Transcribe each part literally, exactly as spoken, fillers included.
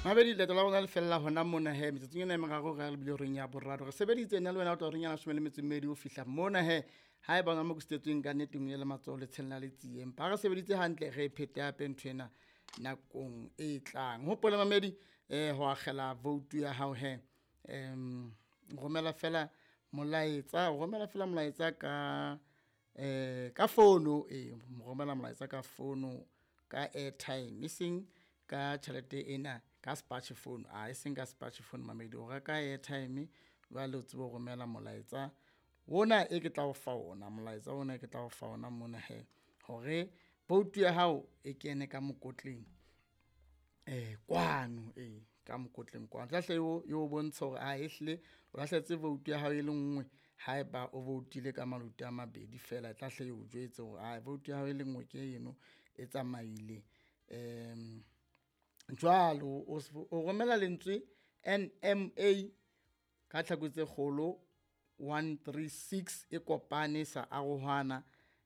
Mabedi leeto la rona le fella hona mona he metsotsong ena e meraro re lebile horeng ya boraro. Re sebeditse nna le wena o tla horeng ya leshome le metso e mmedi ho fihla mona he. Ha eba ona mo ke sitetsweng ka nnete le matsoho le tshella le tsie. Empa ha re sebeditse hantle re phete hape ntho ena nakong e tlang. Hopola mamedi eh ho akgela vote ya hao he. Um romela fela molaetsa, romela fela molaetsa ka eh ka fono e romela molaetsa ka fono ka airtime, e seng ka tjhelete ena ka sepatjhe phone, a e seng ka sepatjhe phone mamedi. O reka airtime jwale o tsebe ho romela molaetsa ona e ke tla o fa ona, molaetsa ona e ke tla o fa ona mona he. Hore vote ya hao e kene ka mokotleng eh kwano ee ka mokotleng kwano. Tla hle o bontsha hore ae ehlile o lahlehetse vote ya hao e le nngwe haeba o vote-ile ka maluti a mabedi fela, e tla hle eo jwetse hore ae vote ya hao e le nngwe ke eno e tsamaile. Um jwalo o o romela lentswe N M A ka tlhaku tse kgolo one three six e kopane sa arohana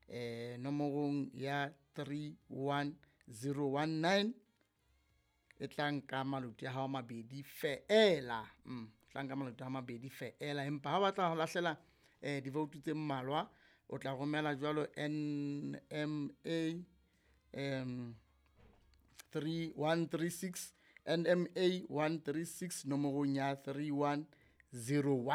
eh nomorong ya three one zero one nine. E tla nka maluti a hao a mabedi feela, mm tla nka maluti a mabedi feela. Empa ha o batla ho lahlela eh di-vote tse mmalwa, o tla romela jwalo N M A um three one three six N M A one three six nomorong ya three one zero one.